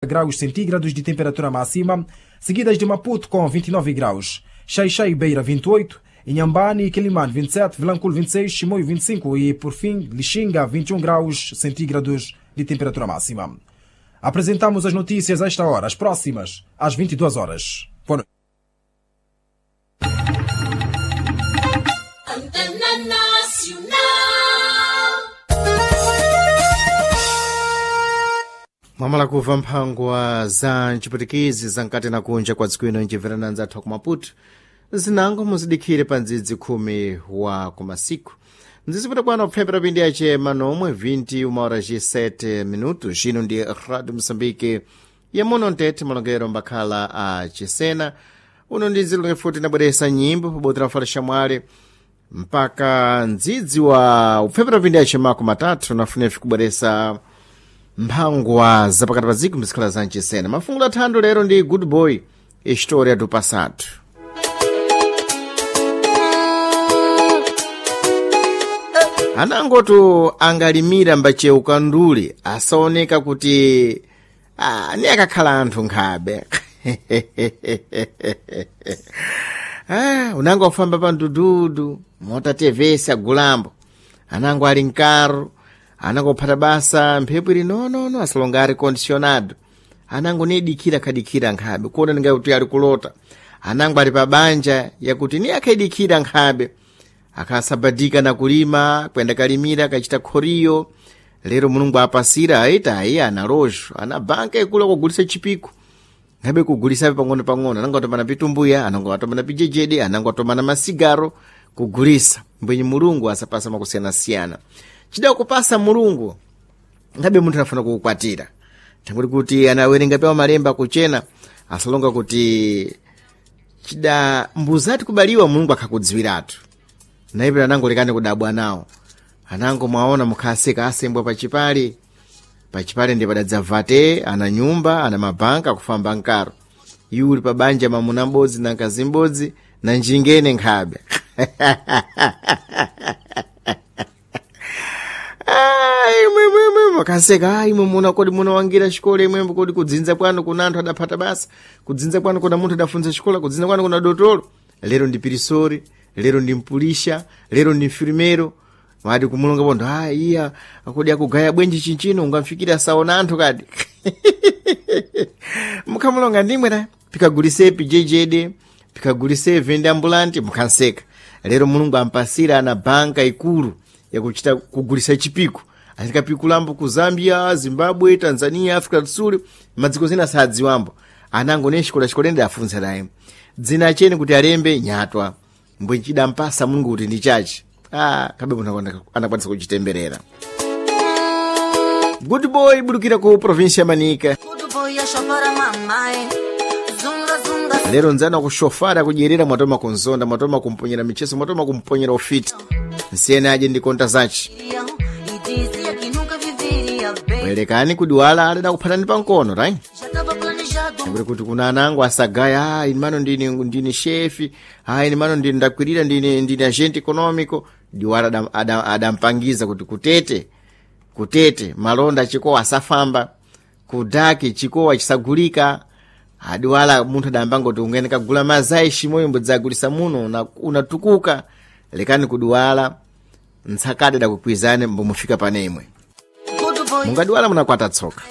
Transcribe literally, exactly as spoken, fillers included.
Graus centígrados de temperatura máxima, seguidas de Maputo com vinte e nove graus, Xai-Xai e Beira vinte e oito, Inhambane e Quelimane vinte e sete, Vilanculo vinte e seis, Chimoio vinte e cinco e, por fim, Lixinga vinte e um graus centígrados de temperatura máxima. Apresentamos as notícias a esta hora, as próximas, às vinte e duas horas. Boa noite. Mwamala kuva mphangwa za ntchiputikizi zamkati na kunja kwa dziko ino ncimverana nzathu ku Maputo zinango muzidikhire pa ndzidzi khumi wa kumasiku mdzizipita kwano kupfepera pindi yace manomwe vinti uma hora ci sete minutos. Ino ndi Radio Moçambique yamuno ntete malongero mbakhala a chisena. Uno ndi ndzilonge futi nabweresa nyimbo pabodzi la mfala mpaka ndzidzi wa upfepera pindi yace mako matatu nafunefi kubweresa mphangwa zapakati pa dziko mzikhala za mchisena. Mafungulo athando lero ndi Good Boy, História do Passado. Anangotu angalimira mbacheuka nduli asaoneka kuti ah, ni akakhala anthu nkhabe. Ah, unango afamba pa mdududu motatevesa gulambo, anango ali mkaro, anango phata basa mphepo ili nonono asalonga ari condicionado, anango nidikira khadikira nkhabe kuona ningakuti ali kulota, anango ali pa banja yakuti ni akhadikira nkhabe akasabadika na kulima kwenda kalimira kachita khoriyo. Lero Mulungu apasira aita ayi ana lojo ana banka ikula kugulisa chipiko ngabe kugulisa pang'ono pang'ono, anango atomana pitumbuya, anango atomana pijejede, anango atomana masigaro kugulisa. Mbwenye Mulungu asapasa makusiyana-siyana chida kupasa Mulungu ngabe munthu anafuna kukukwatira tangoti kuti anawerenga pewa malemba kuchena asalonga kuti chida mbuzati kubaliwa Mulungu akhakudziwiratu. Naipira anango lekani kudabwa nawo, anango mwaona mukhaseka asembwa pachipale pachipale ndi padadzavate ana nyumba ana mabanka akufamba nkaro iuli pa banja mamuna m'bodzi na mkazi m'bodzi na njingene nkhabe. Kaseka imwe muna kodi munawangira xikola imwembo kodi kudzinza kwanu kuna anthu adaphata basa, kudzinza kwanu kuna munthu adafunza xikola, kudzinza kwanu kuna dotolo. Lero ndi pirisori, lero ndi mpulisha, lero ndi mfirimero. Wadi kumulonga pontho, ah iya akodi akugaya bwenji chinchino ungamfikira asaona anthu kadi. Mukhamulonga ndimwe ta pikagulise pijejede, pikagulise vende ambulanti mukhanseka. Lero Mulungu ampasira ana banka ikulu yakuchita kugulisa chipiko. Atikapikulambo ku Zambia, Zimbabwe, Tanzania, Africa do Sul, madziko zina sadziwambo. Anango ne xikola xikolende afunsa naye dzina acheni kuti alembe nyatwa mbwe chidampasa Mulungu kuti ndi chachi. Ah, kabe munthu anakwanisa kuchitemberera. Good Boy budukira ku província ya Manica. Lero nzana kushofara kudyerera mwatoma kunzonda, mwatoma kumponyera micheso, mwatoma kumponyera ufiti. Nsiyene aje ndi konta zachi. Bwerekani kudiwala alida kuphatani pankono, right? Ndikuti kuti kuna anango asagaya, ah, ine mano ndine ndine chefe, ah, ine mano ndine ndakwirira ndine ndine agente econômico. Diwala adam, adam, adampangiza kuti kutete kutete malonda chikowa asafamba, kudaki chikowa chisagulika. Adiwala munthu adambanga kuti ungene kagula mazai shimoyo mbudzagulisa muno unatukuka. Lekani kudiwala ntsakade dakukwizane mbomufika panemwe. Mungadiwala munakwata tsoka.